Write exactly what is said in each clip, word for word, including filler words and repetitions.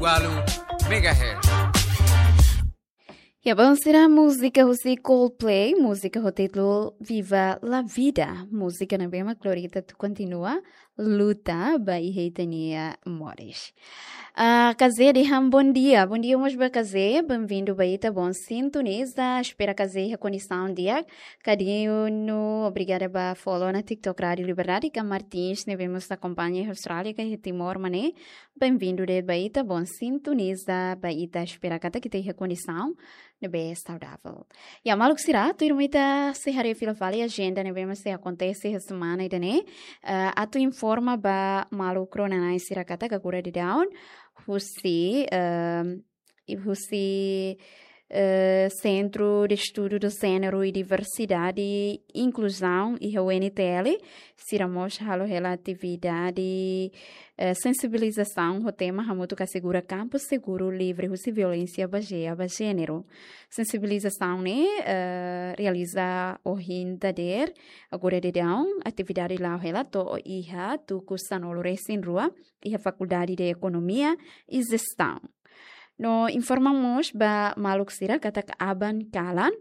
Walu megahertz. Ya, bom, sira múzika husi Coldplay, múzika ho títulu Viva la Vida. Múzika ne'ebé mak lori ita atu kontinua luta ba iha ita-nia moris. Ah, Kazé dehan bondia. Bondia mós ba Kazé. Benvindu ba ita, bom sintoniza. Espera Kazé iha kondisaun di'ak. Kadinu, obrigada ba follow ona TikTok Rádio Liberdade. Ka Martins ne'ebé mós akompaña iha Austrália, ka iha Timor, mané. Benvindu de'it ba ita, bom sintoniza ba ita, espera katak ita iha kondisaun ne'ebé saudavel. Ya, maluk sira, tuirmai ita sei haree fila fali ajenda ne'ebé mak sei akontese iha semana ida-ne'e. Eh, atu informa ba maluk rona-na'in sira katak agora daudaun husi, ehm, i husi, eh, Centro de Estudo do Género e Diversidade e Inclusão, iha U N T L, sira mós halo hela atividade, eh, sensibilizasaun ho tema hamutuk asegura kampu seguru livre husi violénsia bazeia ba jéneru. Sensibilizasaun ne'e, eh, realiza ohin dadeer, agora daudaun, atividade la'o hela to'o iha tuku sanulu-resin-rua, iha Fakuldade de Ekonomia e Jestaun. No informa mós ba maluk sira katak aban kalan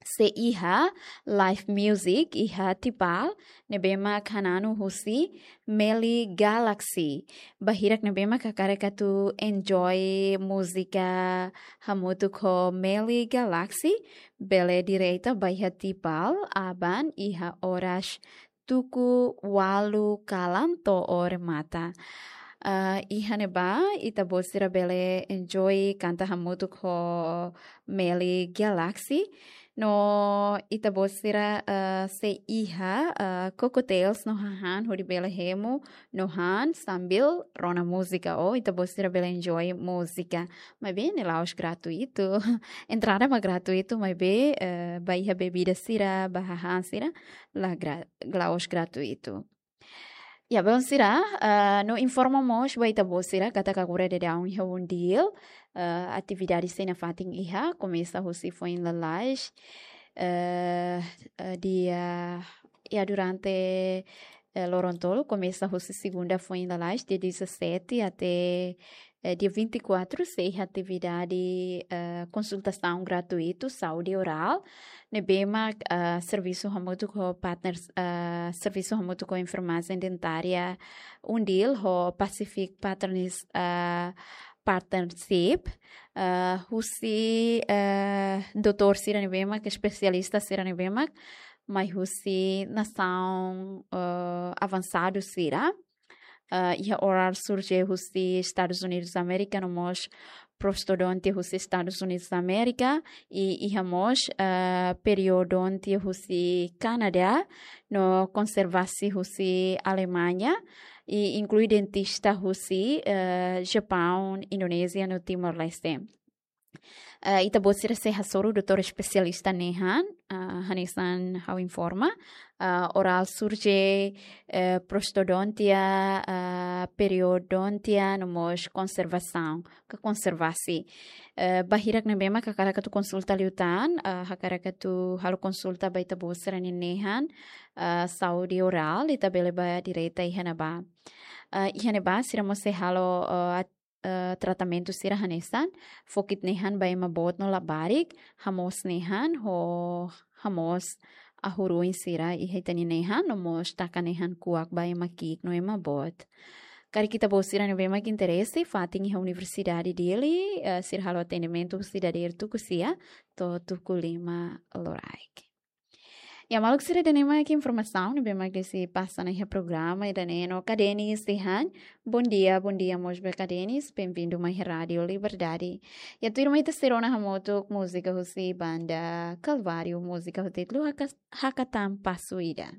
sei iha live music iha Tipal, ne'ebé mak hananu husi Meli Galaxy. Ba hirak ne'ebé mak hakarak atu enjoy múzika hamutuk ho Meli Galaxy, bele direta ba iha Tipal, aban iha oras tuku walu kalan to'o remata. Ah, iha ne'ebá, ita-boot sira bele enjoy kanta hamutuk ho Meli Galaxy. No ita-boot sira, ah, sei iha, ah, cocktails no hahán hodi bele hemu no han sambil rona múzika. Ou ita-boot sira bele enjoy múzika. Maibé ne'e la'ós gratuitu. Entrada mak gratuitu, maibé, eh, ba iha bebida sira, ba hahán sira, la gra-, la'ós gratuitu. Ya, bom sira, eh, no informa mós ba ita-boot sira katak agora daudaun iha UNDIL, eh, atividade sei nafatin iha, komesa husi foin lalais, eh, eh, dia, ya, durante, eh, loron tolu, komesa husi segunda foin lalais, dia dezassete até, eh, dia vinte e quatro, sei iha atividade, eh, konsultasaun gratuitu, saúde orál, ne'ebé mak, eh, servisu hamutuk ho partners, eh, servisu hamutuk ho enfermajen dentária UNDIL ho Pacific Partners, eh, Partnership, eh, husi, eh, doutór sira ne'ebé mak, espesialista sira ne'ebé mak, mai husi nasaun, eh, avansadu sira. Eh, iha orál surje husi Estadus Unidus Amérika, no mós prostodontia husi Estadus Unidus Amérika, i iha mós, eh, periodontia husi Kanadá, no konservasi husi Alemaña, i inklui dentista husi, eh, Japaun, Indonézia, no Timor-Leste. Eh, ita-boot sira sei hasoru doutór espesialista nehan, eh, hanesan ha'u informa, eh, orál surje, eh, prostodontia, eh, periodontia, no mós konservasaun, ka konservasi. Eh, ba hirak ne'ebé mak hakarak atu konsulta liután, eh, hakarak atu halo konsulta ba ita-boot sira-nia nehan, eh, saúde orál, ita bele bá direta iha ne'ebá. Eh, iha ne'ebá, sira mós sei halo, eh, at-, eh, tratamentu sira hanesan, fokit nehan ba ema boot no labarik, hamoos nehan, ho hamoos ahuru-oin sira iha ita-nia nehan, no mós taka nehan kuak ba ema ki'ik no ema boot. Karik ita-boot sira ne'ebé mak interese, fatin iha Universidade Dili, eh, sira halo atendimentu husi dadeer tuku sia to'o tuku lima loraik. Ya, maluk sira, ida-ne'e mak informasaun ne'ebé mak sei pasa ona iha programa ida-ne'e no Kadenis dehan. Bondia, bondia mós ba Kadenis, benvindu mai iha Rádio Liberdade. Ya, tuirmai ita sei rona hamutuk múzika husi banda Kalváriu, múzika ho títulu Haka-, Hakatan Pasu Ida.